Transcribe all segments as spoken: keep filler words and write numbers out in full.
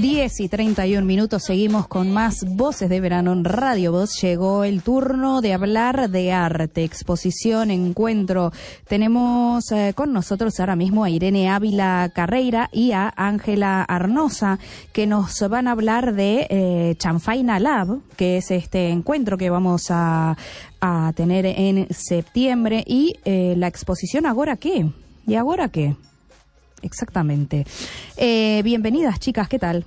diez y treinta y un minutos, seguimos con más Voces de Verano en Radio Voz. Llegó el turno de hablar de arte, exposición, encuentro. Tenemos eh, con nosotros ahora mismo a Irene Ávila Carreira y a Ángela Arnosa, que nos van a hablar de eh, Chanfaina Lab, que es este encuentro que vamos a, a tener en septiembre, y eh, la exposición ¿Agora qué? ¿Y ahora qué? Exactamente. Eh, bienvenidas, chicas, ¿qué tal?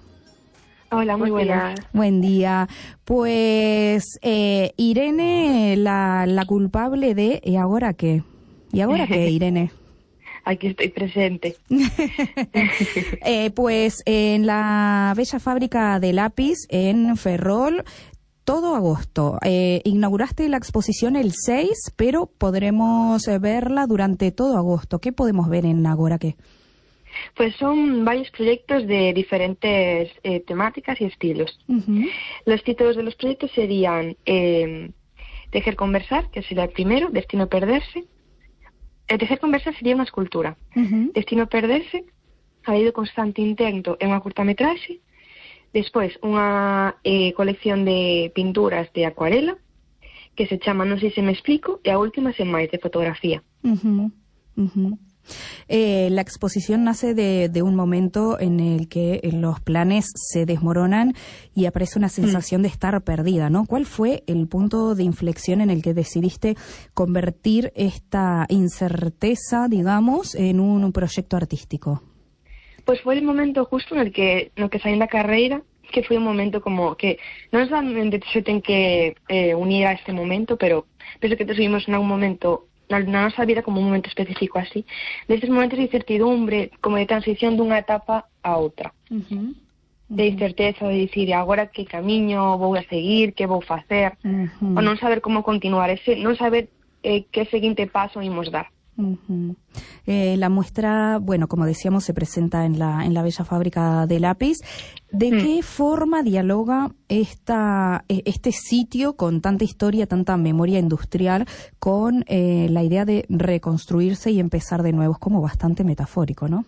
Hola, muy buenas. Buen día. Pues eh, Irene, la, la culpable de ¿y ahora qué? ¿Y ahora qué, Irene? Aquí estoy presente. eh, pues en la bella fábrica de lápiz en Ferrol, todo agosto. Eh, inauguraste la exposición el seis, pero podremos verla durante todo agosto. ¿Qué podemos ver en Agora qué? Pues son varios proyectos de diferentes eh, temáticas y estilos. Uh-huh. Los títulos de los proyectos serían eh, Tejer Conversar, que sería el primero, Destino Perderse. El Tejer Conversar sería una escultura. Uh-huh. Destino Perderse, ha habido constante intento en unha curtametraxe. Despois, unha eh, colección de pinturas de acuarela, que se chama Non sei se me explico, e a última Sen máis, de fotografía. Uh-huh. Uh-huh. Eh, la exposición nace de, de un momento en el que los planes se desmoronan y aparece una sensación mm. de estar perdida, ¿no? ¿Cuál fue el punto de inflexión en el que decidiste convertir esta incerteza, digamos, en un, un proyecto artístico? Pues fue el momento justo en el que, no que saí da carreira, que foi un momento como que non solamente se ten que eh, unir a este momento, pero penso que todos vivimos en un momento na nosa vida como un momento específico así, destes momentos de incertidumbre, como de transición dunha etapa a outra. Uh-huh. Uh-huh. De incerteza, de dicir, agora que camiño vou a seguir, que vou facer, uh-huh. o non saber como continuar, ese, non saber eh, que seguinte paso imos dar. Uh-huh. Eh, la muestra, bueno, como decíamos, se presenta en la en la bella fábrica de lápiz. ¿De mm. qué forma dialoga esta este sitio con tanta historia, tanta memoria industrial, con eh, la idea de reconstruirse y empezar de nuevo? Es como bastante metafórico, ¿no?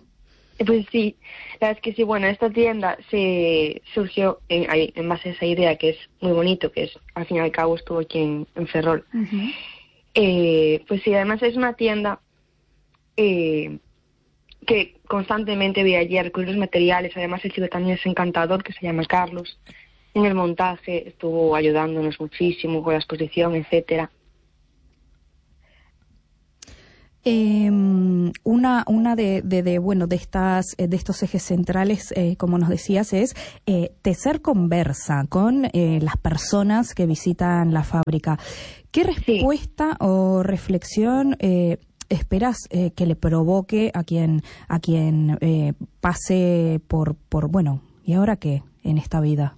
Pues sí, la verdad es que sí, bueno, esta tienda se surgió en, en base a esa idea que es muy bonito, que es, al fin y al cabo estuvo aquí en, en Ferrol. Uh-huh. Eh, pues sí, además es una tienda eh, que constantemente ve allí a recurrir los materiales. Además el chico también es encantador, que se llama Carlos. En el montaje estuvo ayudándonos muchísimo con la exposición, etcétera. Eh, una una de, de, de bueno de estas de estos ejes centrales, eh, como nos decías, es eh, tecer conversa con eh, las personas que visitan la fábrica. ¿Qué respuesta sí. o reflexión eh, esperas eh, que le provoque a quien a quien eh, pase por por bueno y ahora qué en esta vida?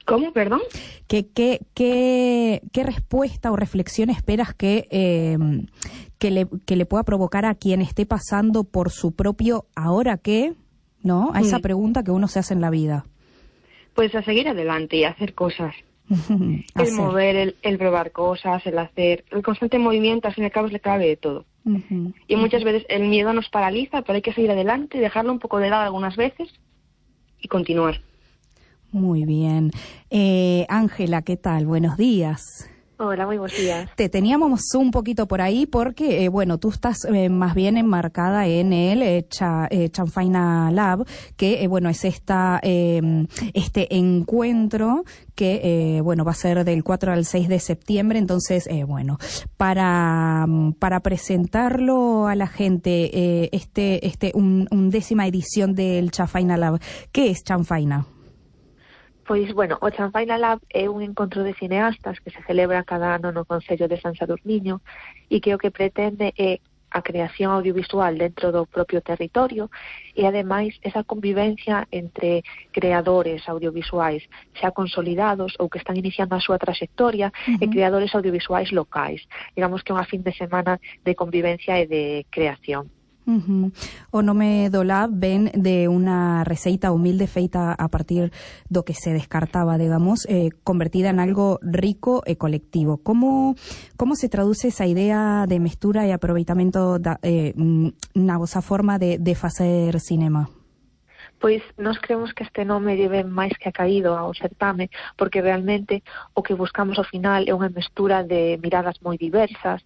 ¿Cómo? Perdón. ¿Qué, qué, qué, qué respuesta o reflexión esperas que, eh, que, le, que le pueda provocar a quien esté pasando por su propio ¿ahora qué? ¿No? A esa mm. pregunta que uno se hace en la vida. Pues a seguir adelante y a hacer cosas. el mover, el, el probar cosas, el hacer, el constante movimiento, al fin y al cabo es la clave de todo. Uh-huh. Y muchas veces el miedo nos paraliza, pero hay que seguir adelante, dejarlo un poco de lado algunas veces y continuar. Muy bien. Eh, Ángela, ¿qué tal? Buenos días. Hola, muy buenos días. Te teníamos un poquito por ahí porque, eh, bueno, tú estás eh, más bien enmarcada en el eh, Cha, eh, Chanfaina Lab, que, eh, bueno, es esta eh, este encuentro que, eh, bueno, va a ser del cuatro al seis de septiembre. Entonces, eh, bueno, para para presentarlo a la gente, eh, este este un, un décima edición del Chanfaina Lab, ¿qué es Chanfaina? Pois, bueno, o Chanfaina Lab é un encontro de cineastas que se celebra cada ano no Concello de San Sadurniño e que o que pretende é a creación audiovisual dentro do propio territorio e, ademais, esa convivencia entre creadores audiovisuais xa consolidados ou que están iniciando a súa trayectoria uh-huh. e creadores audiovisuais locais. Digamos que é unha fin de semana de convivencia e de creación. Uh-huh. O Nome do Lab ven de unha receita humilde feita a partir do que se descartaba, digamos, eh, convertida en algo rico e colectivo. Como como se traduce esa idea de mestura e aproveitamento da, eh, na vosa forma de, de facer cinema? Pois nós creemos que este nome debe máis que acaído ao certame, porque realmente o que buscamos ao final é unha mestura de miradas moi diversas,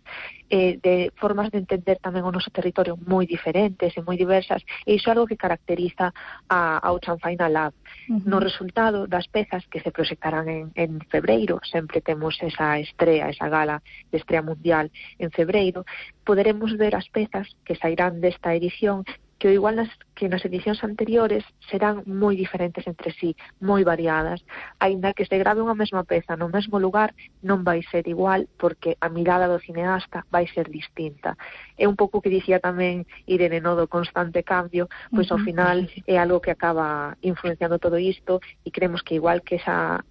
eh, de formas de entender tamén o noso territorio moi diferentes e moi diversas, e iso é algo que caracteriza a, ao Chanfaina Lab. Uh-huh. No resultado das pezas que se proxectarán en, en febreiro, sempre temos esa estrea, esa gala de estrea mundial en febreiro, poderemos ver as pezas que sairán desta edición, que igual nas, que nas edicións anteriores serán moi diferentes entre sí, moi variadas. Aínda que se grave unha mesma peza no mesmo lugar, non vai ser igual, porque a mirada do cineasta vai ser distinta. É un pouco que dicía tamén Irene, no, do constante cambio, pois ao final é algo que acaba influenciando todo isto, e creemos que igual que esa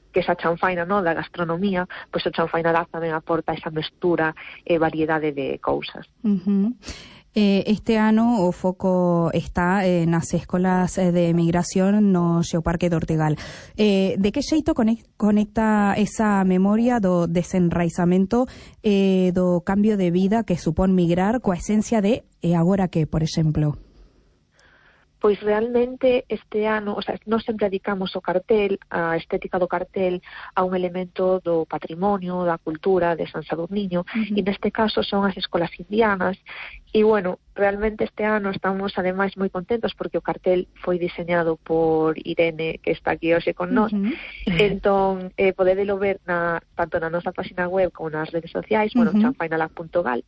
que esa chanfaina, no, da gastronomía, pois o Chanfaina Lab tamén aporta esa mestura e variedade de cousas. Uh-huh. Eh, este ano o foco está eh, nas escolas de migración no Xeoparque de Ortegal. Eh, de que xeito conecta esa memoria do desenraizamento eh, do cambio de vida que supón migrar coa esencia de e agora que, por exemplo? Pois realmente este ano, o sea, nós sempre dedicamos o cartel, a estética do cartel, a un elemento do patrimonio, da cultura de San Sadurniño, uh-huh. e neste caso son as escolas indianas, e bueno, realmente este ano estamos ademais moi contentos porque o cartel foi diseñado por Irene, que está aquí hoxe con nós, uh-huh. entón eh, podedelo ver na, tanto na nosa página web como nas redes sociais, uh-huh. bueno, chanfaina lab punto gal.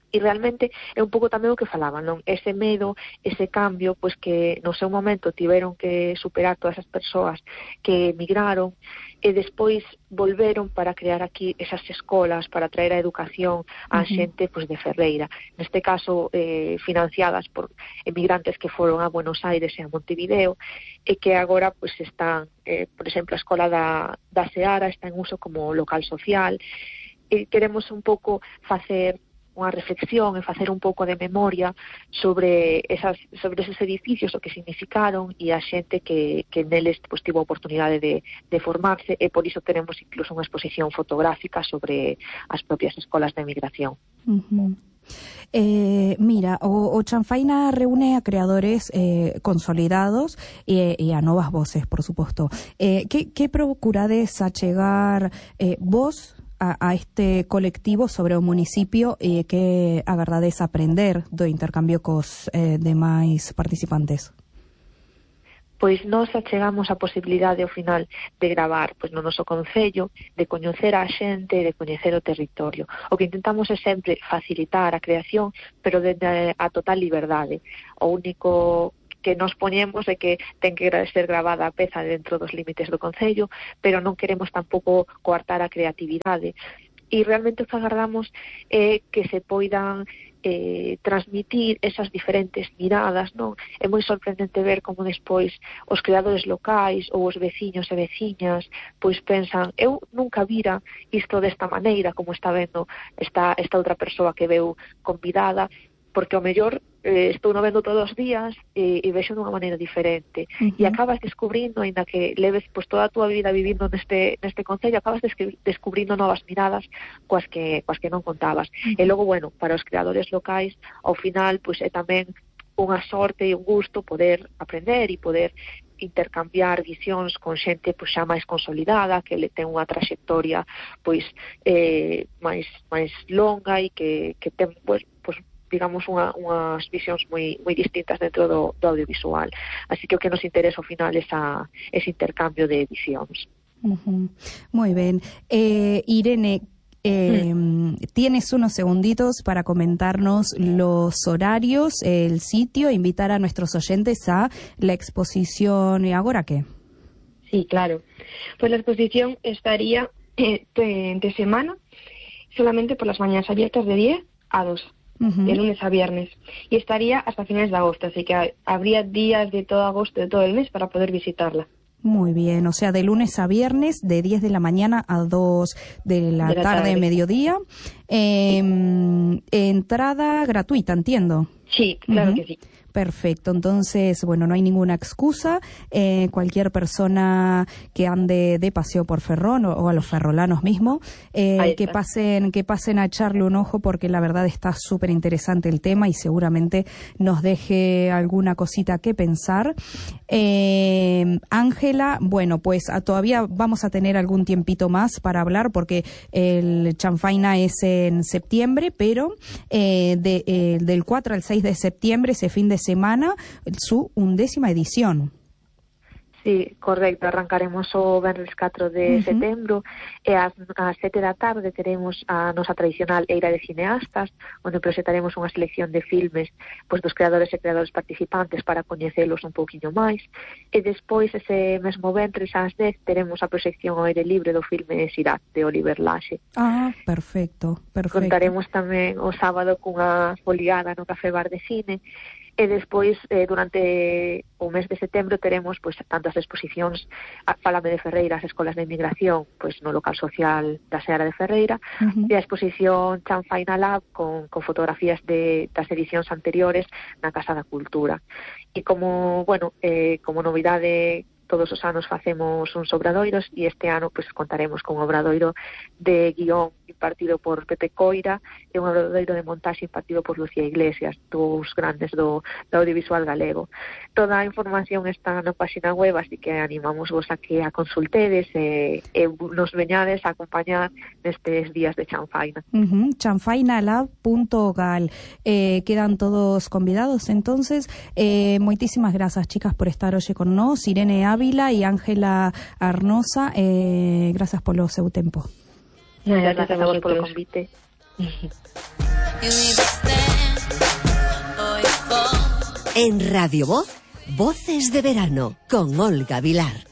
E realmente é un pouco tamén o que falaban, non? Ese medo, ese cambio, pois que no seu momento tiveron que superar todas as persoas que emigraron e despois volveron para crear aquí esas escolas, para traer a educación á uh-huh. xente pois de Ferreira. Neste caso, eh, financiadas por emigrantes que foron a Buenos Aires e a Montevideo, e que agora pois están, eh, por exemplo, a escola da, da Seara está en uso como local social, e queremos un pouco facer unha reflexión e facer un pouco de memoria sobre esas sobre esos edificios, o que significaron e a xente que, que neles pues, tivo a oportunidade de, de formarse, e por iso tenemos incluso unha exposición fotográfica sobre as propias escolas de emigración. Uh-huh. Eh, mira, o, o Chanfaina reúne a creadores eh, consolidados e, e a novas voces, por suposto. Eh, que, que procurades achegar eh, vos A, a este colectivo sobre o municipio e eh, que agardades aprender do intercambio cos eh, demais participantes? Pois nós achegamos a posibilidade ao final de gravar pois no noso concello, de coñecer a xente, de coñecer o territorio. O que intentamos é sempre facilitar a creación, pero desde a total liberdade. O único que nos poñemos é que ten que ser gravada a peza dentro dos límites do concello, pero non queremos tampouco coartar a creatividade. E realmente o que agardamos é que se poidan eh, transmitir esas diferentes miradas, non? É moi sorprendente ver como despois os creadores locais ou os veciños e veciñas pois pensan, eu nunca vira isto desta maneira, como está vendo esta, esta outra persoa que veu convidada, porque ao mellor eh, estou no vendo todos os días e, e vexo dunha maneira diferente. Uh-huh. E acabas descubrindo, ainda que leves pues, toda a túa vida vivindo neste, neste concello, acabas descri- descubrindo novas miradas coas que, coas que non contabas. Uh-huh. E logo, bueno, para os creadores locais, ao final, pues, é tamén unha sorte e un gusto poder aprender e poder intercambiar visións con xente pois, xa máis consolidada, que le ten unha traxectoria pois eh, máis máis longa e que, que ten pois, pois digamos, unha, unhas visións moi moi distintas dentro do, do audiovisual. Así que o que nos interesa ao final é esa, ese intercambio de visións. Uh-huh. Moi ben. Eh, Irene, eh, mm. tienes unos segunditos para comentarnos los horarios, el sitio, invitar a nuestros oyentes a la exposición. ¿Y ahora qué? Sí, claro. Pues la exposición estaría eh, de, de semana, solamente por las mañanas abiertas de diez a dos. Uh-huh. De lunes a viernes, y estaría hasta finales de agosto, así que habría días de todo agosto, de todo el mes, para poder visitarla. Muy bien, o sea, de lunes a viernes, de diez de la mañana a dos de la, de la tarde, tarde, mediodía. Eh, entrada gratuita, entiendo. Sí, claro uh-huh. que sí. Perfecto, entonces, bueno, no hay ninguna excusa. Eh, cualquier persona que ande de paseo por Ferrón o, o a los ferrolanos mismos, eh, que pasen que pasen a echarle un ojo, porque la verdad está súper interesante el tema y seguramente nos deje alguna cosita que pensar. Eh, Ángela, bueno, pues a, todavía vamos a tener algún tiempito más para hablar, porque el Chanfaina es en septiembre, pero eh, de, eh, del cuatro al seis de septiembre, ese fin de semana, su undécima edición. Sí, correcto, arrancaremos o venres catro de uh-huh. setembro e ás, ás sete da tarde teremos a nosa tradicional Eira de Cineastas, onde proxectaremos unha selección de filmes pois, dos creadores e creadores participantes para coñecelos un pouquiño máis, e despois ese mesmo venres ás dez teremos a proxección ao aire libre do filme Sirat de Oliver Laxe. Ah, perfecto, perfecto. Contaremos tamén o sábado cunha foliada no Café Bar de Cine. E despois, eh, durante o mes de setembro, teremos pois, tanto as exposicións Fálame de Ferreira, as escolas de inmigración, pois, no local social da Seara de Ferreira, uh-huh. e a exposición Chanfaina Lab con, con fotografías de, das edicións anteriores na Casa da Cultura. E como, bueno, eh, como novidade, todos os anos facemos uns obradoiros e este ano pois contaremos con un obradoiro de guión impartido por Pepe Coira e un obradoiro de montaxe impartido por Lucía Iglesias, dous grandes do, do audiovisual galego. Toda a información está na página web, así que animamos vos a que a consultedes e, e nos veñades a acompañar nestes días de Chanfaina. Uh-huh. chanfainalab punto gal. Eh, quedan todos convidados, entonces. Eh, moitísimas grazas, chicas, por estar hoxe con nós. Irene Ávila e Ángela Arnosa, eh, grazas polo seu tempo. Muchas gracias a vos polo convite. En Radio Voz, Voces de Verano, con Olga Vilar.